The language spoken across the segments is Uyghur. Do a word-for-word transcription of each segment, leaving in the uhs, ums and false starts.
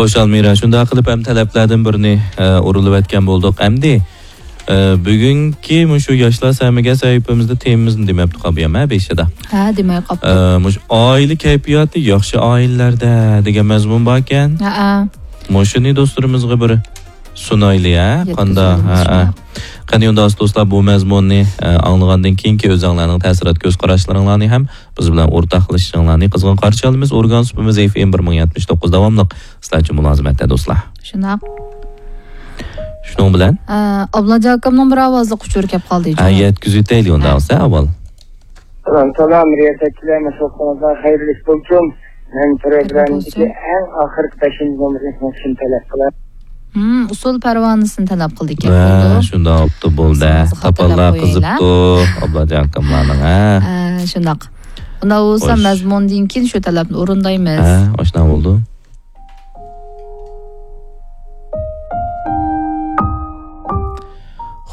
خوش ئالمىرا، شۇنداق قىلىپ ھەم تەلەپلەردىن بىرىنى، ئە، ئۇرۇلۇۋەتكەن بولدۇق. ئەمدى، ئە، بۈگۈنكى مۇشۇ ياشلار سەمىگە سەھىپىمىزدە تېمىمىزنى دېمەپتۇ قابىيام، ھە، بېشىدا. ھە، دېمەي قاپتۇ. ئە، مۇشۇ ئائىلە كەيپىياتى ياخشى ئائىلىلەردە دېگەن مەزمۇن باركەن. ھەئە. مۇشۇنى دوستلىرىمىزغا بىر سۇنايلى، ھە، قانداق؟ يەتكۈزۈۋېتىمىز، ھەئە. شۇنداق. قېنى ئۇنداق دوستلار، بۇ مەزمۇننى، ئە، ئاڭلىغاندىن كېيىنكى ئۆزۈڭلارنىڭ تەسىرات كۆز قاراشلىرىڭلارنى ھەم بىز بىلەن ئورتاقلىشىشىڭلارنى قىزغىن قارشى ئالىمىز. ئورگان سۇپىمىز ئېف ئېم بىر مىڭ يەتمىش توققۇز داۋاملىق سىلەرچە مۇلازىمەتتە دوستلار. شۇنداق. شۇنىڭ بىلەن؟ ئە، ئابلاجان ئاكامنىڭ بىر ئاۋازلىق ئۇچۇرى كەپ قالدى، ھە، جۇمۇ. يەتكۈزۈۋېتەيلى ئۇنداق ھە. بولسا ئاۋۋال. سالام، سالام، رىياسەتچىلەر، مەشغۇلاتىڭىزغا خەيرلىك بولسۇن. مەن پروگراممىدىكى بولسۇن. ئەڭ ئاخىرقى بەشىنچى نومۇرنى سىزنىڭ ئۈچۈن تەلەپ قىلىمەن. ھىم، ئۇسسۇل پەرۋانىسىنى تەلەپ قىلدىكەن، ھە، بولدى. شۇنداق بوپتۇ، بولدى. سىزنىڭ خاتا تاپانلار تەلەپ قويايلا. قىزىپتۇ، ئابلاجان ئاكاملارنىڭ، ھە. ھە، شۇنداق. ئۇنداق بولسا خوش. مەزمۇندىن كېيىن شۇ تەلەپنى ئورۇندايمىز. ھە، ئاشۇنداق بولدى.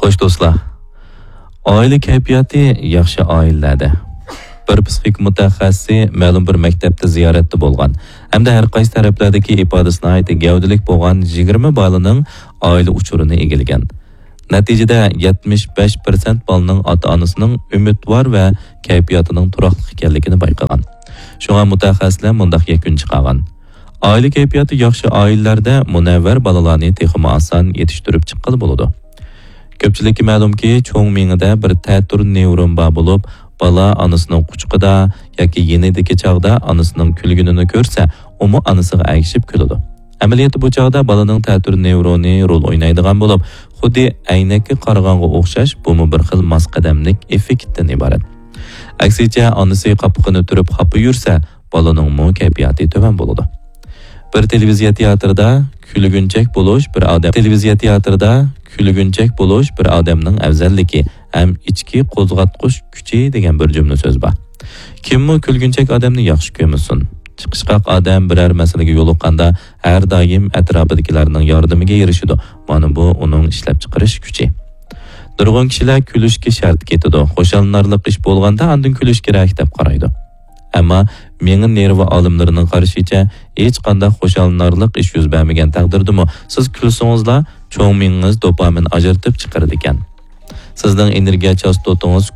خوش دوستلار، ئائىلە كەيپىياتى ياخشى ئائىلىلەردە. بىر پسىخىك مۇتەخەسسىسى مەلۇم بىر مەكتەپتە زىيارەتتە بولغان ھەمدە ھەر قايسى تەرەپلەردىكى ئىپادىسى ناھايىتى گەۋدىلىك بولغان يىگىرمە بالىنىڭ ئائىلە ئۇچۇرىنى ئىگىلىگەن. نەتىجىدە يەتمىش بەش پىرسەنت بالىنىڭ ئاتا-ئانىسىنىڭ ئۈمىدۋار ۋە كەيپىياتىنىڭ تۇراقلىق ئىكەنلىكىنى بايقىغان. شۇڭا مۇتەخەسسىسلەر مۇنداق يەكۈن چىقارغان. ئائىلە كەيپىياتى ياخشى ئائىلىلەردە مۇنەۋۋەر بالىلارنى تېخىمۇ ئاسان يېتىشتۈرۈپ چىققىلى بولىدۇ. كۆپچىلىككە مەلۇمكى، چوڭ مېڭىدە بىر تەتۈر نېۋرون بار بولۇپ، بالا ئانىسىنىڭ قۇچىقىدا ياكى يېنىدىكى چاغدا ئانىسىنىڭ كۈلگىنىنى كۆرسە، ئۇمۇ ئانىسىغا ئەگىشىپ كۈلىدۇ. ئەمەلىيەتتە بۇ چاغدا بالىنىڭ تەتۈر نېۋرونى رول ئوينايدىغان بولۇپ، خۇددى ئەينەككە قارىغانغا ئوخشاش، بۇمۇ بىر خىل ماس قەدەملىك ئېففېكتتىن ئىبارەت. ئەكسىچە، ئانىسى قاپىقىنى تۈرۈپ خاپا يۈرسە، بالىنىڭمۇ كەيپىياتى تۆۋەن بولىدۇ. بىر تېلېۋىزىيە تىياتىرىدا كۈلگۈنچەك بولۇش بىر ئادەم، تېلېۋىزىيە تىياتىرىدا كۈلگۈنچەك بولۇش بىر ئادەمنىڭ ئەۋزەللىكى ھەم ئىچكى قوزغاتقۇچ كۈچى دېگەن بىر جۈملە سۆز بار. كىممۇ كۈلگۈنچەك ئادەمنى ياخشى كۆرمىسۇن؟ چىقىشقاق ئادەم بىرەر مەسىلىگە يولۇققاندا ھەر دائىم ئەتراپىدىكىلەرنىڭ ياردىمىگە ئېرىشىدۇ. مانا بۇ ئۇنىڭ ئىشلەپچىقىرىش كۈچى. نۇرغۇن كىشىلەر كۈلۈشكە شەرت كېتىدۇ. خۇشاللىنارلىق ئىش بولغاندا ئاندىن كۈلۈش كېرەك دەپ قارايدۇ. ئەمما مېڭە نېرۋا ئالىملىرىنىڭ قارىشىچە، ھېچقانداق خۇشاللىنارلىق ئىش يۈز بەرمىگەن تەقدىردىمۇ سىز كۈلسىڭىزلا، چوڭ مېڭىڭىز دوپامىن ئاجرىتىپ چىقىرىدىكەن. سىزنىڭ ئېنېرگىيە چاستوتىڭىز